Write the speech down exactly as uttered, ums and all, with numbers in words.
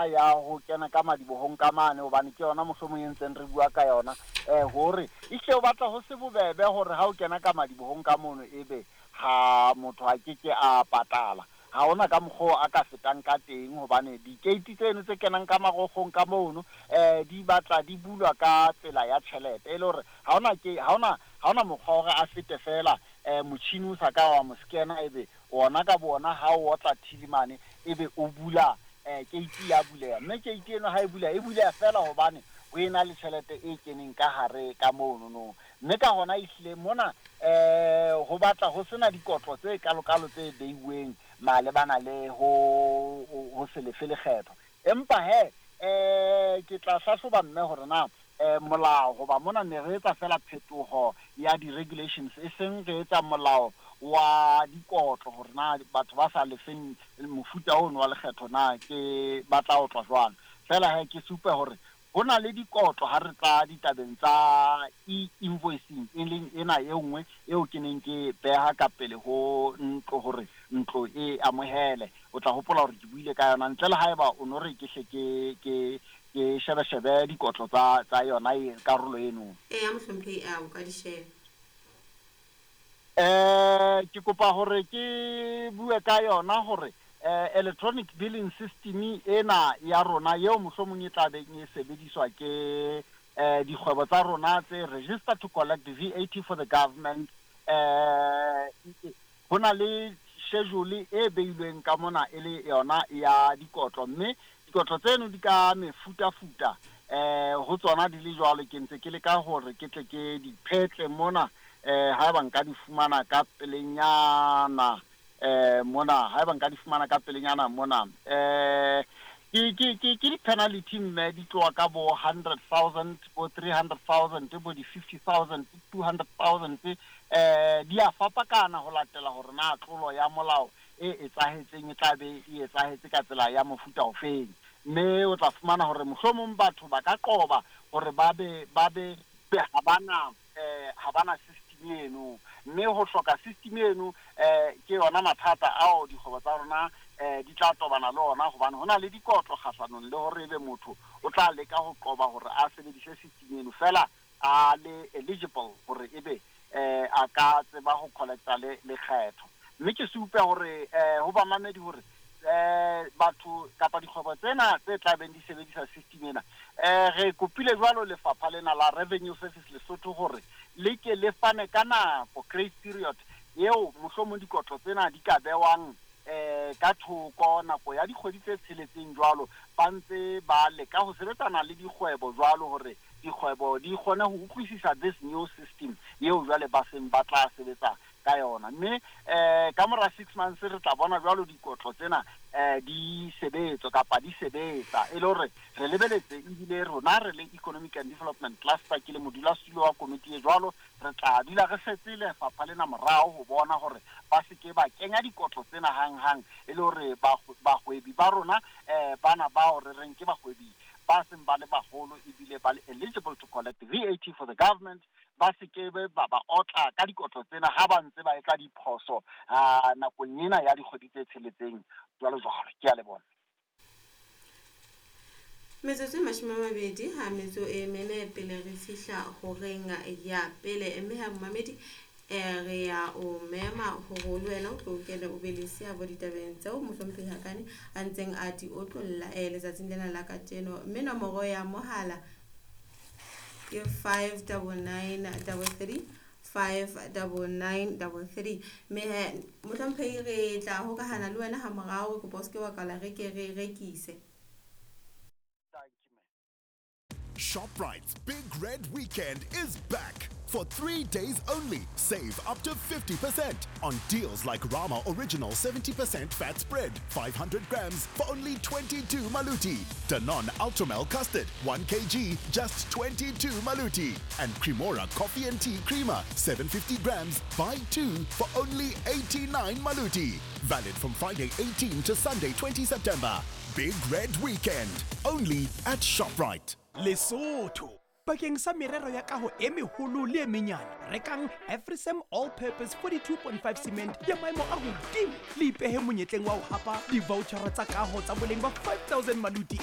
Ya ho kena ka madibohong ka mane, hobane ke yona mohlomong e ntseng re bua ka yona, um hore ehlile o batla ho se bobebe hore ha o kena ka madibohong ka mono, ebe ha motho a ke ke a patala, ha hona ka mokgwa a ka fetang ka teng, hobane dikeiti tseno tse kenang ka marokgong ka mono um di batla di bulwa ka tsela ya tjhelete, e le hore ha hona ke ha hona ha hona mokgwa hore a fete fela um motjhini o sa ka wa mo scanner, ebe ona ka bona ha o otla till mane, ebe o bula um keiti ya buleha. Mme keiti eno ha e buleha, e buleha fela hobane ho ena le tjhelete e keneng ka hare ka mono no. Mme ka hona ehlile mona um ho batla ho sena dikotlo tse kalokalo tse beiweng malebana le ho ho se lefe lekgetho. Empa he, um ke tla hlahloba mme hore na um molao, hoba mona ne re etsa fela phetoho ya di-regulations, e seng re etsa molao wa dikotlo, hore na batho ba sa lefeng mofuta ono wa lekgetho na ke ba tla otlwa jwang. Fela he, ke supe hore ho na le dikotlo ha re tla ditabeng tsa e-invoicing, e leng ena e nngwe eo ke neng ke beha ka pele ho ntlo hore ntlo e amohele. O tla hopola hore ke buile ka yona, ntle le haeba o no re ke hle ke ke ke shebe-shebe dikotlo tsa tsa yona e karolo eno. Eya, mohlomphehi, a o ka di sheba. eh ke kopa hore ke bue ka yona hore eh electronic billing system ena ya rona eo mohlomong e tla beng e sebediswa ke eh dikgwebo tsa rona tse register to collect V A T for the government, eh ho na le schedule e beilweng ka mona e le yona ya dikotlo, mme dikotlo tseno di ka mefutafuta. eh ho tsona di le jwalo, ke ntse ke leka hore ke tle ke di phetle mona, eh haeba nka di fumana ka pelenyana eh mona, haeba nka di fumana ka pelenyana mona. eh ke ke ke ke di-penalty, mme di tloha ka bo hundred thousand, bo three hundred thousand, bo di-fifty thousand, two hundred thousand. eh di a fapakana ho latela hore na tlolo ya molao e etsahetseng e tla be e etsahetse ka tsela ya mofuta ofeng. Mme o tla fumana hore mohlomong batho ba ka qoba hore ba be ba be ha bana eh ha bana system eno, mme ho hloka system eno eh ke yona mathata ao dikgwebo tsa rona eh di tla tobana le ona, hobane ho na le dikotlo kgahlanong le hore ebe motho o tla leka ho qoba hore a sebedise system eno, fela a le eligible hore ebe eh a ka tseba ho collecta le lekgetho. Mme ke supe hore eh ho bamamedi hore eh batho kapa dikgwebo tsena tse tla beng di sebedisa system ena, eh re kopile jwalo lefapha lena la Revenue Service Lesotho hore le ke le fane ka nako, grace period, eo mohlomong dikotlo tsena di ka bewang eh ka thoko nako ya dikgwedi tse tsheletseng jwalo, ba ntse ba leka ho sebetsana le dikgwebo jwalo, hore dikgwebo di kgone ho utlwisisa this new system eo jwale ba seng ba tla sebetsa ka yona. Mme eh ka mora six months re tla bona jwalo dikotlo tsena eh di sebetsa kapa di sebetsa, e le hore re lebeletse. Ebile rona re le Economic and Development Cluster, ke le modulasetulo wa komiti e jwalo, re tla dula re setse lefapha lena morao ho bona hore ba se ke ba kenya dikotlo tsena hang-hang, e le hore bahwebi ba rona, eh bana bao re reng ke bahwebi ba seng ba le baholo ebile ba le eligible to collect V A T for the government, ba se ke be ba ba otla ka dikotlo tsena ha ba ntse ba etsa diphoso nakong ena ya dikgwedi tse tsheletseng, jwalo jwalo. Ke a leboha. Metsotso e mashome a mabedi ha metso e mene pele re fihla horeng ya pele. Mme ha momamedi, um re ya o mema hore le wena o tlo kene o be le seabo ditabeng tseo mohlomphehi Hakane a ntseng a di otlolla um letsatsing lena la kajeno. Mme nomoro ya mohala ke five double nine double three, five double nine double three. Mme he, mohlomphehi, re tla hokahana le wena ha morao. Re kopa o se ke wa kwala, re ke re rekise. Thank you, ma'am. ShopRite's Big Red Weekend is back. For three days only, save up to fifty percent on deals like Rama Original seventy percent fat spread, five hundred grams for only twenty-two maluti. Danone Ultramel Custard, one kilogram, just twenty-two maluti. And Cremora Coffee and Tea Creamer, seven hundred fifty grams, buy two for only eighty-nine maluti. Valid from Friday eighteen to Sunday twenty September. Big Red Weekend, only at ShopRite. Lesotho. Bakeng sa merero ya kaho e meholo le e menyane, rekang Afrisam All Purpose forty-two point five cement ya maemo a hodimo, le ipehe monyetleng wa ho hapa di-vouchera tsa kaho tsa boleng ba five thousand maluti e.